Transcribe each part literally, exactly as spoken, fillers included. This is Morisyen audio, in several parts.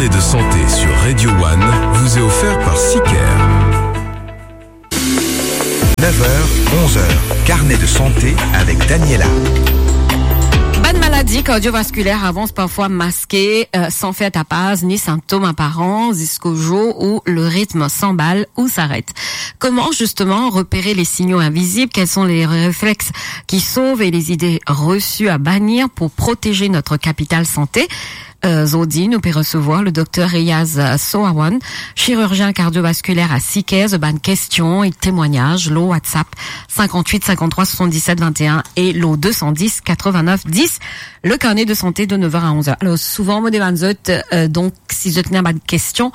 Et de santé sur Radio One vous est offert par Sicker. Neuf heures, onze heures, carnet de santé avec Daniela. Bann maladi kardiovaskuler avans parfwa maske, euh, san fer tapaz ni sintom aparan, ziska zour ou le ritm sanbal ou s'arrête. Comment justement repérer les signaux invisibles ? Quels sont les réflexes qui sauvent et les idées reçues à bannir pour protéger notre capital santé ? Euh, zordi, nou pe resevwar le Dokter Riaz, euh, Soawan, chirurgien kardiovaskuler a Sicker. Zot bann kestion e temwagnaz lor WhatsApp cinquante-huit cinquante-trois soixante-dix-sept vingt et un e lor deux cent dix quatre-vingt-neuf dix, le carnet de santé de neuf heures à onze heures. Alor, souvan, mo demann zot, euh, donk, si zot ena bann kestion,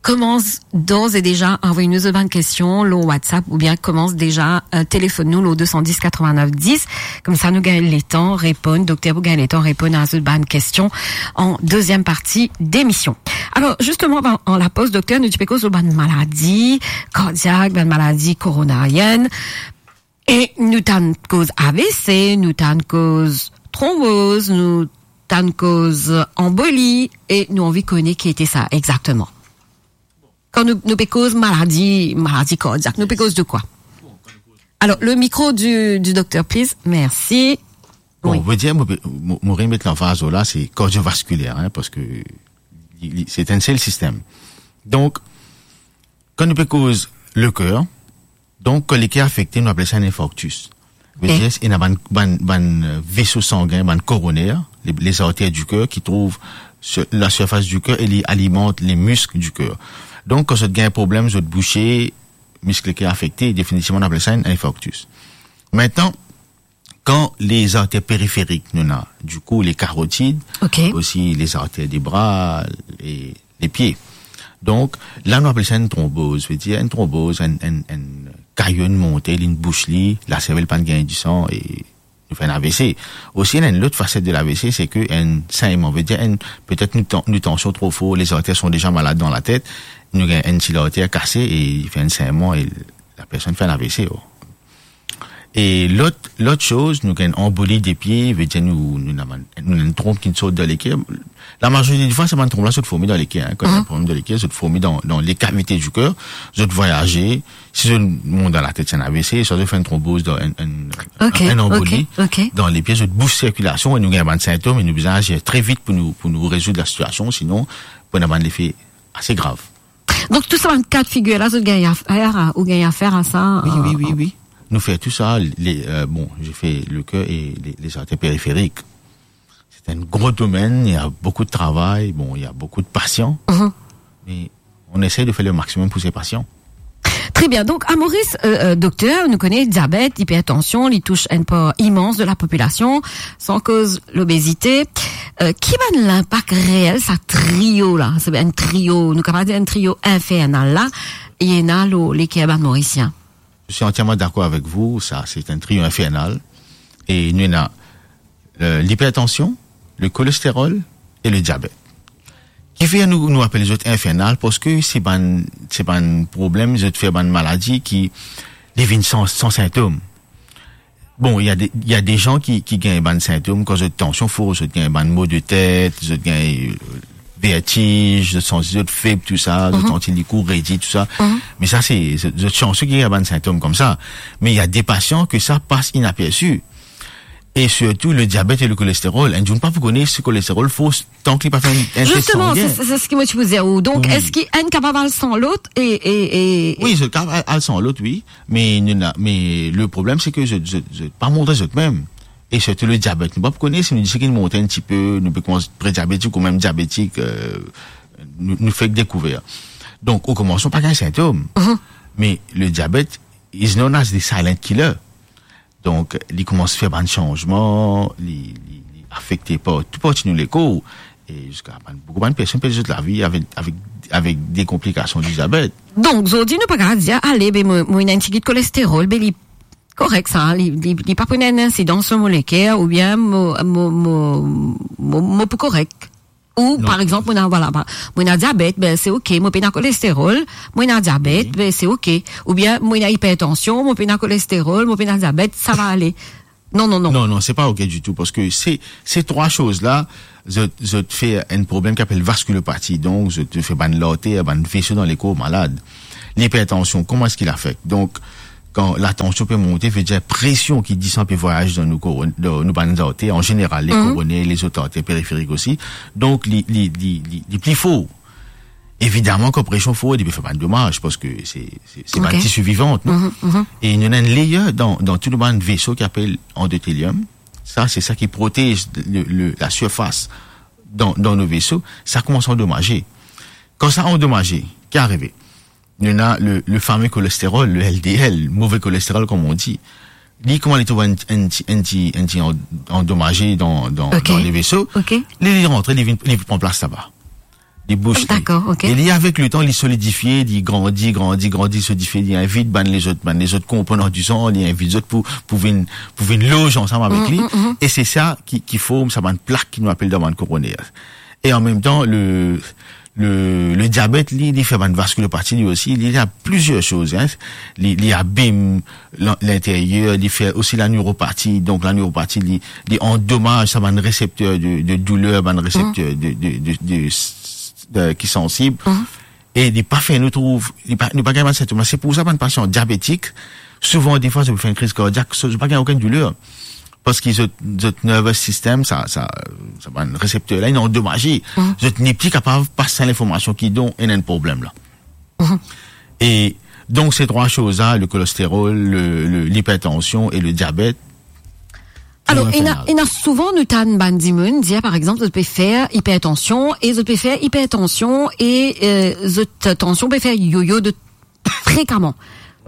koumans d'ores et déjà anvoy nou zot bann kestion lor WhatsApp oubien koumans deza, euh, telefonn nou lor deux cent dix quatre-vingt-neuf dix. Koumsa nou gagn letan reponn, dokter pou gagn letan reponn a zot bann kestion an deziem parti demision. Alor, zisteman, an, an lapoz, dokter, nou ti pe koz lor bann maladi kardiak, bann maladi koronarienn. E nou tann koz A V C, nou tann koz tronboz, nou tann koz anboli, e nou anvi kone ki ete sa exakteman. Kan nou, nou pe koz maladi, maladi kardiak, nou pe koz de kwa? Alors, le micro du, du docteur, please. Merci. Bon, oui. Vedir, mo, mo, mo remet lanfaz la, se kardiovaskuler, hein, parski li, li, se enn sel sistem. Donk, kan nou pe koz leker, donk, kan leker afekte, nou apel sa enn infarktis. Ok. Vedir, ena bann, bann, bann, euh, veso sangin, bann koroner, les, les artères du cœur, ki trouv sur la surface du cœur e li alimant les muscles du cœur. Donk, kan zot gagn problem, zot bouse, misk leker afekte, definitivman, nou apel sa enn infarktis. Aster, kan les artères périphériques, nou ena, dikou, les carotides, ok, osi les artères des bras e les pieds. Donk, la, nou apel sa enn tronboz. Vedir, enn tronboz, enn, enn, enn kayo inn monte, linn bous li, laservel pa'nn gagn disan e nou fer enn A V C. Osi, ena enn lot faset de l'A V C, se ke enn sainman, vedir enn, petet nou tan-, nou tansion tro for, les artères sont déjà malades dans la tête, nou gagn enn ti larter kase e li fer enn sainman e lapersonn fer enn A V C, oh. E lot, lot soz, nou gagn anboli de pie, vedir nou, nou ena bann, nou ena enn tronb ki sort dan leker. Lamazorite difwa, se bann tronb la zot forme dan leker, hein, kan ena problem dan leker, zot forme dan, dan les cavités du cœur, zot vwayaze, si zot mont dan latet, se enn A V C, swa zot fer enn tronboz dan enn, enn, ok, enn anboli, ok, ok, dan lepie, zot bous sirkilasion e nou gagn bann sintom e nou bizin azir tre vit pou nou, pou nou rezoud lasitiasion, sinon, pou ena bann lefe ase grav. Donk, tou sa bann ka de figir la, zot gagn afer a, ou gagn afer a sa, wi, euh, wi, wi, wi. Nou fer tou sa, les, euh, bon, je fais le cœur et les, les artères périphériques. C'est un gros domaine, il y a beaucoup de travail, bon, il y a beaucoup de patients, mhm, mais on essaie de faire le maximum pour ces patients. Très bien. Donk, a Moris, euh, euh, dokter, nou kone diabet, ipertansion, li tous enn par imans de la popilasion, san koz lobezite. Euh, ki bann linpak reel sa trio la, se enn trio, nou kapav dir enn trio infernal la, ena lor leker bann Morisien? Je suis entièrement d'accord avec vous, ça, c'est un trio infernal. E nou ena, euh, l'hypertension, le cholestérol et le diabète. Kifer nou, nou apel zot infernal? Parski se bann, se bann problem, zot fer bann maladi ki li vinn san, san sintom. Bon, il y a des, il y a des gens qui, qui gagn bann sintom kan zot tansion for, zot gagn bann maux de tête, zot gagn, euh, vertige, zot santi zot feb, tou sa, zot, mhm, santi li kou redi, tou sa. Mhm. Me sa, se, se, zot santi ki gagn bann sintom koumsa. Me il y a des patients que ça passe inaperçu. E sirtou le diabet e le cholestérol. Enn zour nou pa pou kone si kolestérol for tan ki li pa fer enn, enn tes sangin. Zisteman, se, se, se seki mo ti pou dir ou. Donk, wi, eski enn kapav al san lot e, e, e, wi, zot kapav al, al san lot, wi. Me nou ena, me le problem, se ke zot, zot, zot pa montre zot mem. E sirtou le diabet. Nou pa pou kone si nou dir seki nou monte enn tipe, nou pe koumans pre-diabetik ou mem diabetik, euh, nou, nou fek dekouver. Donk, o komansman, pa gagn sintom. Mhm. Me le diabet is known as the silent killer. Donk, li koumans fer bann sanzman, li, li, li afekte partou, parti nou lekor, e ziska bann, boukou bann personn perd zot lavi avek, avek, avek de konplikasion di diabet. Donk, zordi, nou pa kapav dir, ale, be, mo, mo ena enn tigit kolestérol, be, li korek sa, li, li, li pa pou ena enn insidans lor mo leker, oubien mo, mo, mo, mo, mo pou korek. Ou, non, par exanp, mo ena, vwala, pa, mo ena diabet, be, se ok, mo pena kolestérol, mo ena diabet, wi, be, se ok. Oubien, mo ena ipertansion, mo pena kolestérol, mo pena diabet, sa va ale. Non, non, non. Non, non, se pa ok ditou, parski se, se trwa soz la, zot, zot fer enn problem ki apel vaskulopati. Donk, zot fer bann larter, bann veso dan lekor malad. Lipertansion, kouma eski li afekt? Donk, kan latansion pe monte, vedir presion ki disan pe vwayaze dan nou koron-, dan nou bann arter, an zeneral, le koroner, lezot arter periferik osi. Donk, li, li, li, li, li pli for. Evidaman, kan presion for, li pe fer bann domaz, parski se, se, se bann tisi vivan, non? E nou ena enn layer dan, dan tou nou bann veso ki apel andoteliom. Sa, se sa ki protez le, le, lasirfas dan, dan nou veso. Sa koumans andomaze. Kan sa andomaze, ki arive? Nou ena le, le fame kolesterol, le L D L, move kolesterol, kouma nou dir. Li, kouma li trouv enn, enn ti, enn ti, enn ti an-, andomaze dan, dan, dan le veso, li, li rantre, li vinn, li pran plas laba. Li bous li. Dakor, ok. E li, avek letan, li solidifie, li grandi, grandi, grandi, solidifie, li invit bann lezot, bann lezot konponn dan san, li invit zot pou, pou vinn, pou vinn loz ansam avek li. E se sa ki, ki form sa bann plak ki nou apel dan bann koroner. E an mem tan, le, le, le diabet, li, li fer bann vaskulopati, li osi, li ena plizier soz, hein. Li, li abim lan-, linteryer, li fer osi laneuropati. Donk, laneuropati, li, li andomaz sa bann resepter de, de douler, bann resepter de, de, de, de, de, ki sansib. E li pa fer nou trouv, li pa, nou pa gagn bann sintom la. Se pou sa, bann pasian diabetik, souvan, defwa, zot fer enn kriz kardiak, zot pa gagn okenn douler. Parski zot, zot nervous system, sa, sa, sa bann resepter la, inn andomaze. Zot nepli kapav pas sa linformasion ki donn ena enn problem la. E donk, se trwa soz la, le kolesterol, le, le, lipertansion e le diabet, Alor, ena, ena souvan nou tann bann dimoun dir, par exanp, zot pe fer ipertansion e zot pe fer ipertansion e, eh, zot tansion pe fer yoyo de frekaman.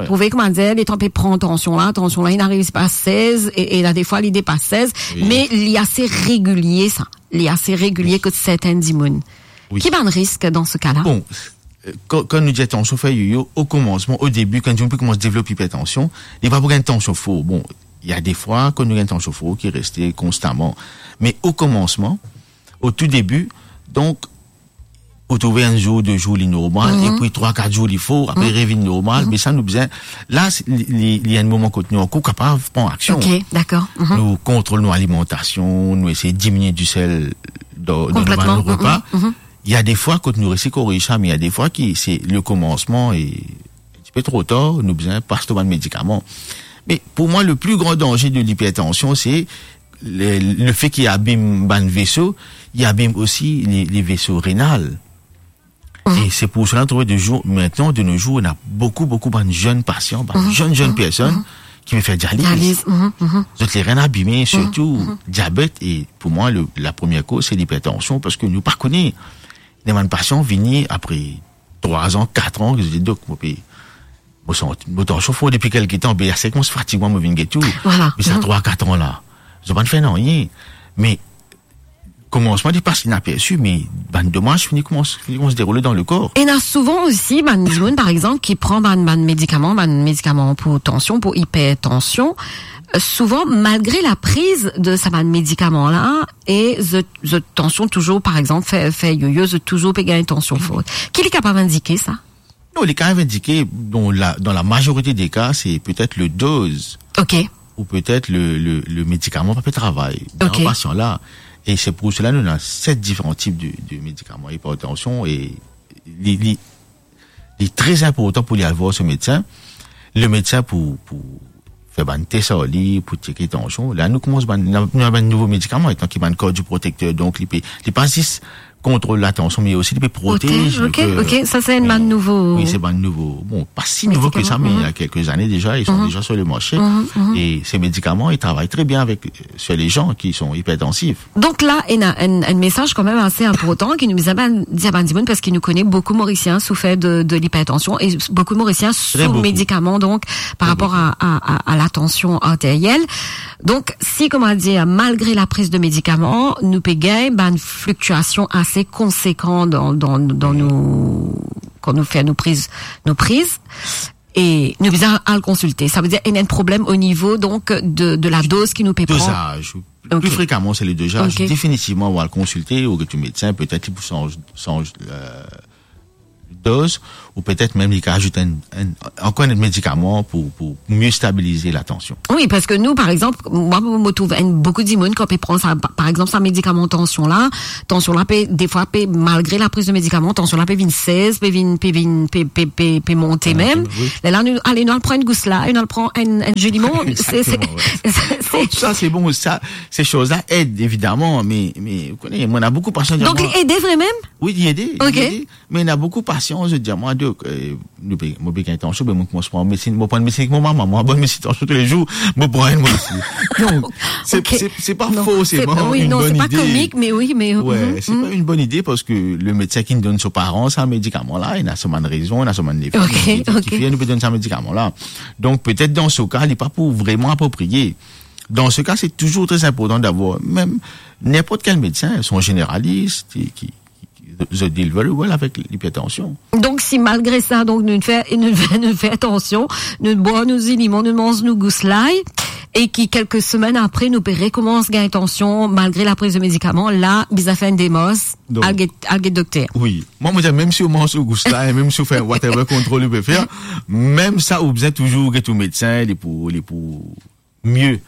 Trouve, koumadir, letan pe pran tansion la, tansion la, inn ariv sipa sez, e, e la, defwa, li depas sez, me li ase regilie, sa. Li ase regilie kot sertenn dimoun. Ki bann risk dan se ka la? Bon, eh, kan, kan nou dir tansion fer yoyo, o koumansman, o debi, kan dimoun pe koumans devlop ipertansion, li pa pou gagn tansion for. Bon, ena defwa, kan nou gagn tansion for, ki reste konstaman. Me o koumansman, o tou debi, donk, ou trouve enn zour, de zour, li normal, epi trwa, kat zour, li for, apre, revinn normal, me sa, nou bizin, la, se, li, li, li enn moman kot nou ankor kapav pran aksion. Ok, dakor. Nou kontrol nou alimantasion, nou esey diminie disel dan, dan nou bann repa. Ena defwa kot nou resi korig sa, me ena defwa ki se le koumansman e ti pe tro tar, nou bizin pas lor bann medikaman. Me pou mwa, le pli gran danze de lipertansion, se le, lefe ki abim bann veso, li abim osi le, le veso renal. E se pou sela nou trouve de zour, mintnan, de nos jours, ena boukou, boukou bann zenn pasian, bann zenn, zenn personn ki pe fer dializ. Dializ. Zot lerin abime, sirtou diabet, e pou mwa, le, la premie koz, se lipertansion, parski nou pa kone. Ena bann pasian vini apre trwa an, kat an, ki dir, "Dok, mo pe, mo santi, mo tansion for depi kelke tan, be, ase koumans fatig mwa, mo vinn get ou." Vwala. Me sa trwa, kat an la, zot pa'nn fer nanye. Me koumansman, li pas inapersi, me bann domaz fini koumans, fini koumans deroule dan lekor. Ena souvan osi bann dimoun, par exanp, ki pran bann, bann medikaman, bann medikaman pou tansion, pou ipertansion. Euh, souvan, malgre lapriz de sa bann medikaman la, e zot, zot tansion touzour, par exanp, fer, fer yoyo, zot touzour pe gagn tansion for. Ki li kapav indike sa? Non, li kapav indike, dan la, dan la mazorite de ka, se petet le doz. Ok. Ou petet le, le, le medikaman pa pe travay dan pasian la. E se pou sela nou ena set diferan tip de, de medikaman ipertansion e li, li, li tre inportan pou li al vwar so medsin. Le medsin pou, pou fer bann tes ar li, pou tcheke tansion. La, nou koumans bann, nou, nou bann nouvo medikaman, etan ki bann kardioprotekter. Donk, li pe, li pa zis kontrol latansion, me osi li pe protez le ker. Ok, ok, sa se enn bann nouvo. Wi, se bann nouvo. Bon, pa si nouvo ke sa, me ena kelke zane deza, ils sont déjà sur le marché. E se medikaman, ils travaillent très bien avec, euh, sur les gens qui sont hypertensifs. Donk la, ena enn, enn mesaz kanmem ase inportan ki nou bizin bann, dir bann dimoun, parski nou kone boukou Morisien soufer de, de lipertansion e boukou Morisien sou medikaman, donk, par rapor a, a, a, a latansion arteriel. Donk, si, koumadir, malgre lapriz de medikaman, nou pe gagn bann fliktiasion ase konsekan dan, dan, dan nou, kan nou fer nou priz, nou priz, e nou bizin al konsilte. Sa ve dir, ena enn problem o nivo, donk, de, de la doz ki nou pe pran. Dozaz. Ok. Pli frekaman, se le dozaz. Ok. Definitivman, ou al konsilte, ou get ou medsin, petet li pou sanz, sanz, euh, doz, ou petet mem li kapav azout enn, enn, ankor enn medikaman pou, pou mie stabiliz latansion. Wi, parski nou, par exanp, mwa, mo, mo trouv enn, boukou dimoun kan pe pran sa, pa-, par exanp, sa medikaman tansion la, tansion la pe, defwa pe, malgre lapriz de medikaman, tansion la pe vinn sez, pe vinn, pe vinn, pe, pe, pe, pe monte mem. Wi. Lerla nou, ale, nou al pran enn gous la, nou al pran enn, enn ji limon, se, se, Egzakteman, wi. se, se Sa, se bon, sa, se soz la ed, evidaman, me, me, ou kone, mwa, ena boukou pasian ki dir mwa, li ede vremem? Wi, li ede, li ede. Me ena boukou pasian, zot dir mwa, dok, eh, nou pe, mo pe gagn tansion, be mo koumans pran medsin, mo pran medsin ek mo mama, mo pran medsin tansion toulezour, mo pran enn mwa osi. Donk, se, se, se pa forseman enn bone ide. Non, se pa, wi, non, se pa komik, me wi, me, se pa enn bone ide parski le medsin ki donn so paran sa medikaman la, ena so bann rezon, ena so bann lefe, ki fer nou pe donn sa medikaman la. Donk, petet dan so ka, li pa pou vreman apropriye. Dan so ka, se touzour tre inportan davwar mem ninport kel medsin, son zeneralis, ki, ki, ki, zot deal very well avek lipertansion. Donk, si malgre sa, donk, nou fer, nou fer, nou fer tansion, nou bwar nou zi limon, nou manz nou gous lay, e ki kelke semenn apre, nou pe rekoumans gagn tansion, malgre lapriz de medikaman, la, bizin fer enn demars, donk, al get, al get dokter. Wi. Mwa, mo dir, mem si ou manz ou gous lay, mem si ou fer whatever kontrol ou pe fer, mem sa, ou bizin touzour get ou medsin, li pou, li pou mie.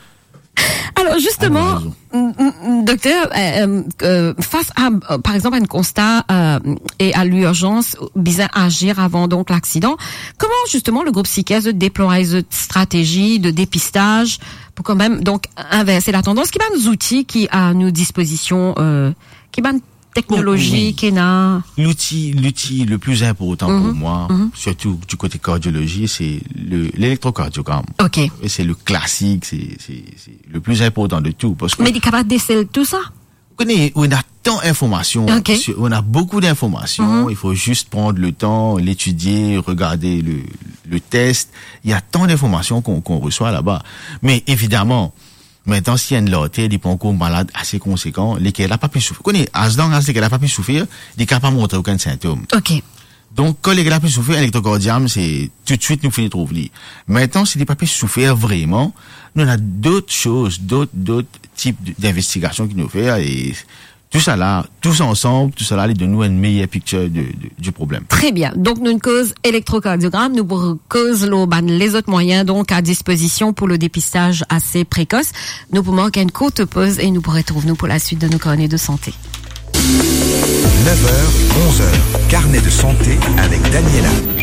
Alor, zisteman, m-, m-, m-, dokter, eh, eh, eh, fas a, eh, par exanp, enn konsta, eh, e a lirzans, bizin azir avan, donk, laksidan, kouma, zisteman, le group Siker, zot deplway zot stratezi de depistaz pou kanmem, donk, invers latandans? Ki bann zouti ki a nou dispozision, eh, ki bann teknolozi ki ena? Bon, wi. Louti, louti le pli inportan pou mwa, sirtou di kote kardiolozi, se le, lelektrokardiogram. Ok. E se le klasik, se, se, se le pli inportan de tou, parski... Me li kapav desel tou sa? Ou kone, ou ena tan informasion, ok, si, ou ena boukou dinformasion, il faut juste prendre le temps, l'étudier, regarder le, le test. Il y a tant d'informations qu'on, qu'on reçoit là-bas. Me evidaman, Mintnan, si enn larter, li pran ankor malad ase konsekan, leker la pa pe soufer. Kone, as long as leker la pa pe soufer, li kapav montre okenn sintom. Ok. Donk, kan leker la pe soufer, elektrokardiam, se toutswit nou finn trouv li. Mintnan, si li pa pe soufer vreman, nou ena dot soz, dot, dot tip de, dinvestigasion ki nou fer, e tousala, tous ansanm, tousala, li donn nou enn meyer picture de, de, di problem. Tre bien. Donk, nou koz elektrokardiogram, nou pou koz lor bann lezot mwayin, donk, a dispozision pou le depistaz ase prekos. Nou pou mark enn kourt poz e nou pou retrouv nou pou laswit de nou karne de sante. Nev er, onz er, karne de sante avek Daniela.